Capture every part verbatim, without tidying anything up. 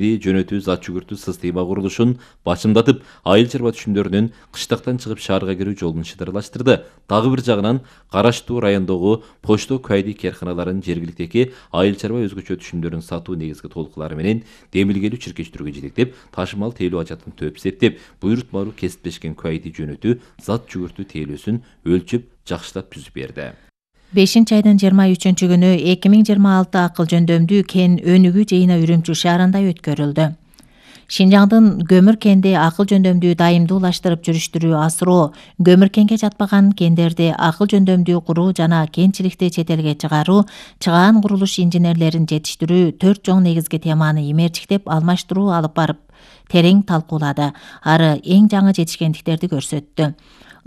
жөнөтүү зат жүгүртүү система курулушун башымдатып, айыл чарба түшүмдөрүнүн кыштактан чыгып шаарга кирүү жолун чыдырлаштырды. Дагы бир жагынан Караштуу райондогу почто кайди керканаларын жергиликтеги айыл чарба өзгөчө түшүмдөрүн сатуу негизги толуктуулары менен демилгелүү чиркештирүүгө жетектеп, ташымал тейлөө ажатын төп септеп, буйрутмалуу кесиптешкен кайди жөнөтүү зат жүгүртүү тейлөөсүн өлчөп жакшылап түзүп берди. бешинчи айдын жыйырма үчүнчү күнү эки миң жыйырма алты акыл жөндөмдүү кен өнүгүү жыйыны Үрүмчү шаарында өткөрүлдү. Шинжаңдын көмүр кенди акыл жөндөмдүү дайымдуулаштырып жүрүштүрүү асыроо, көмүр кенге жатпаган кендерди акыл жөндөмдүү куруу жана кенчиликти чет элге чыгаруу, чыгаан курулуш инженерлерин жетиштирүү төрт чоң негизги теманы имерчиктеп алмаштыруу алып барып терең талкуулады. Ары эң жаңы жетишкендиктерди көрсөттү.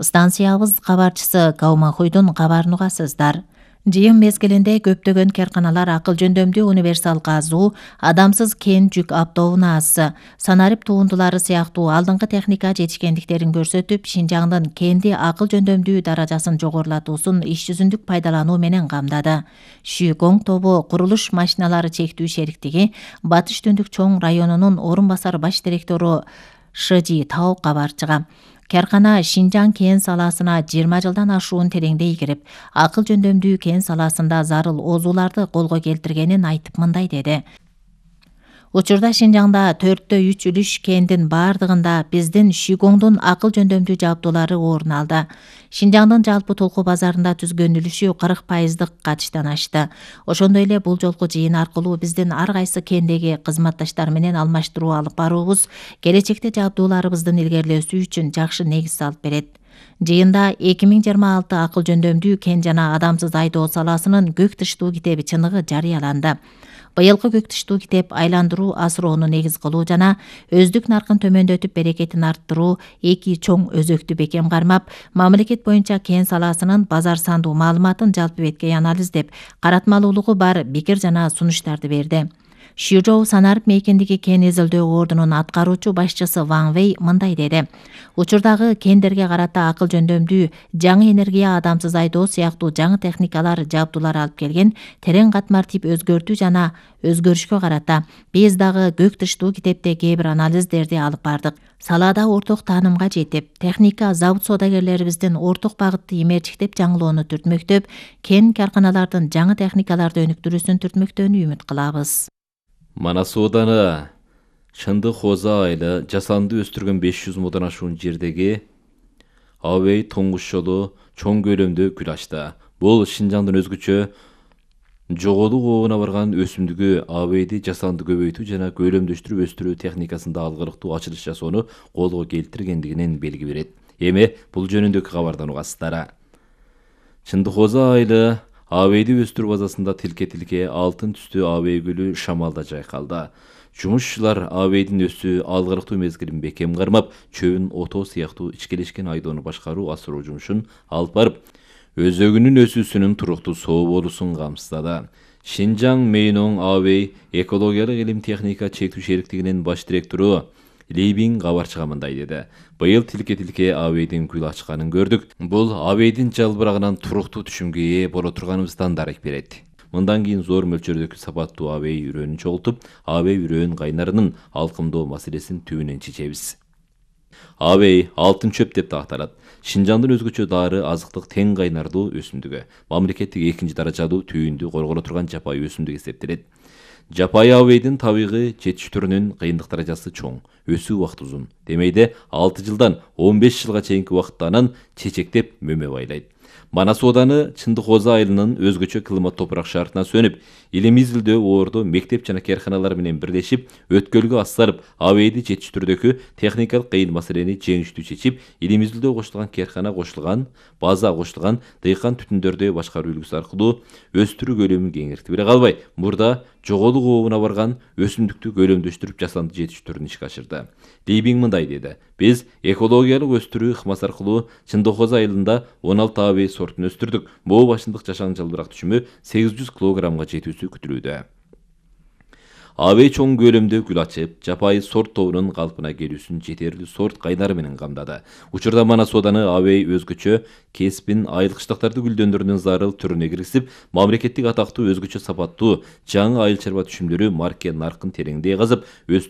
Станциябыз кабарчысы Каумахуйдун кабарын угасыздар. Жыйын мезгилинде көптөгөн керканалар акыл жөндөмдүү универсал казуу, адамсыз кен жүк автобунасы, санарип туундулары сыяктуу алдыңкы техника жетишкендиктерин көрсөтүп, Шинжаңдын кенди акыл жөндөмдүү даражасын жогорулатуусун иш жүзүндүк пайдалануу менен камдады. Шүйгоң тобу курулуш машиналары чектүү шериктиги Батыш Түндүк чоң районунун орун басар баш директору Шыжи Тау кабарчыга Керкана Шинжаң кен саласына жыйырма жылдан ашуун тереңдей кирип, акыл жөндөмдүү кен саласында зарыл оозуларды колго келтиргенин айтып мындай деди. Учурда Шинжаңда төрттө үч үлүш кендин бардыгында биздин Шүйгоңдун акыл жөндөмдүү жабдуулары орун алды. Шинжаңдын жалпы толку базарында түзгөн үлүшү кырк пайыздык катыштан ашты. Ошондой эле бул жолку жыйын аркылуу биздин ар кайсы кендеги кызматташтар менен алмаштыруу алып баруубуз келечекте жабдууларыбыздын илгерилөөсү үчүн жакшы негиз салып берет. Жыйында эки миң жыйырма алты акыл жөндөмдүү кен жана адамсыз айдоо саласынын көк тыштуу китеби чыныгы жарыяланды. Быйылкы көк тыштуу китеп айландыруу асыроону негиз кылуу жана өздүк наркын төмөндөтүп берекетин арттыруу эки чоң өзөктү бекем кармап, мамлекет боюнча кен саласынын базар сандуу маалыматын жалпы беткей анализдеп, каратмалуулугу бар пикир жана сунуштарды берди. Шүжоу санарип мейкиндиги кен изилдөө ордунун аткаруучу башчысы Ван Вэй мындай деди. Учурдагы кендерге карата акыл жөндөмдүү жаңы энергия, адамсыз айдоо сыяктуу жаңы техникалар, жабдуулар алып келген терең катмар тип өзгөртүү жана өзгөрүшкө карата биз дагы көк тыштуу китепте кээ бир анализдерди алып бардык. Салада орток таанымга жетип, техника, завод соодагерлерибиздин орток багытты имерчиктеп жаңылоону түртмөктөп, кен карканалардын жаңы техникаларды өнүктүрүүсүн түртмөктөөнү үмүт кылабыз. Манас ооданы Чындык Хоза айылы жасанды өстүргөн беш жүз мудан ашуун жердеги Абей тоңгуш жолу чоң көлөмдө гүл ачты. Бул Шинжаңдын өзгөчө жоголук ообуна барган өсүмдүгү Абейди жасанды көбөйтүү жана көлөмдөштүрүп өстүрүү техникасында алгылыктуу ачылыш жасоону колго келтиргендигинен белги берет. Эми бул жөнүндөгү кабардан угасыздар. Чындык Хоза айылы Абейди өстүрүү базасында тилке-тилке алтын түстүү абей гүлү шамалда жайкалды. Жумушчулар абейдин өсүү алгылыктуу мезгилин бекем кармап, чөбүн отоо сыяктуу ичкелешкен айдоону башкаруу асыроо жумушун алып барып, өзөгүнүн өсүүсүнүн туруктуу соо болуусун камсыздады. Шинжаң Мейноң Абей экологиялык илим техника чектүү шериктигинин баш директору Лейбин кабарчыга мындай деди. Быйыл тилке-тилке абейдин гүл ачканын көрдүк. Бул абейдин жалбырагынан туруктуу түшүмгө ээ боло турганыбыздан дарек берет. Мындан кийин зор мөлчөрдөгү сапаттуу абей үрөөнүн чогултуп, абей үрөөн кайнарынын алкымдоо маселесин түбүнөн чечебиз. Абей алтын чөп деп да аталат. Шинжаңдын өзгөчө дары азыктык тең кайнардуу өсүмдүгү. Мамлекеттик экинчи даражалуу түйүндү корголо турган жапайы өсүмдүк эсептелет. Жапайы абейдин табигый жетиштирүүнүн кыйындык даражасы чоң, өсүү убакыты узун. Демейде алты жылдан он беш жылга чейинки убакытта анан чечектеп мөмө байлайт. Манас ооданы Чындык Хоза айылынын өзгөчө климат топурак шартына сөнүп, илим изилдөө орду мектеп жана керканалар менен бирлешип, өткөлгө ассарып, абейди жетиштирүүдөгү техникалык кыйын маселени жеңиштүү чечип, илим изилдөө кошулган керкана кошулган, база кошулган, дыйкан түтүндөрдү башкаруу үлгүсү аркылуу өстүрүү көлөмүн кеңиртип эле калбай, мурда жоголук ообуна барган өсүмдүктү көлөмдөштүрүп жасанды жетиштирүүнү ишке ашырды. Лейбин мындай деди. Биз экологиялык өстүрүү ыкмасы аркылуу Чындык Хоза айылында он алты абей сортун өстүрдүк. Боо башындык жашан жалбырак түшүмү сегиз жүз килограммга жетүүсү күтүлүүдө. Абей чоң көлөмдө гүл ачып, жапайы сорт тобунун калпына келүүсүн жетерлүү сорт кайнары менен камдады. Учурда мана сооданы Абей өзгөчө кесипин айылкычтыктарды гүлдөндүрүүнүн зарыл түрүнө киргизип, мамлекеттик атактуу өзгөчө сапаттуу жаңы айыл чарба түшүмдөрү марке наркын тереңдей казып, өстүрүп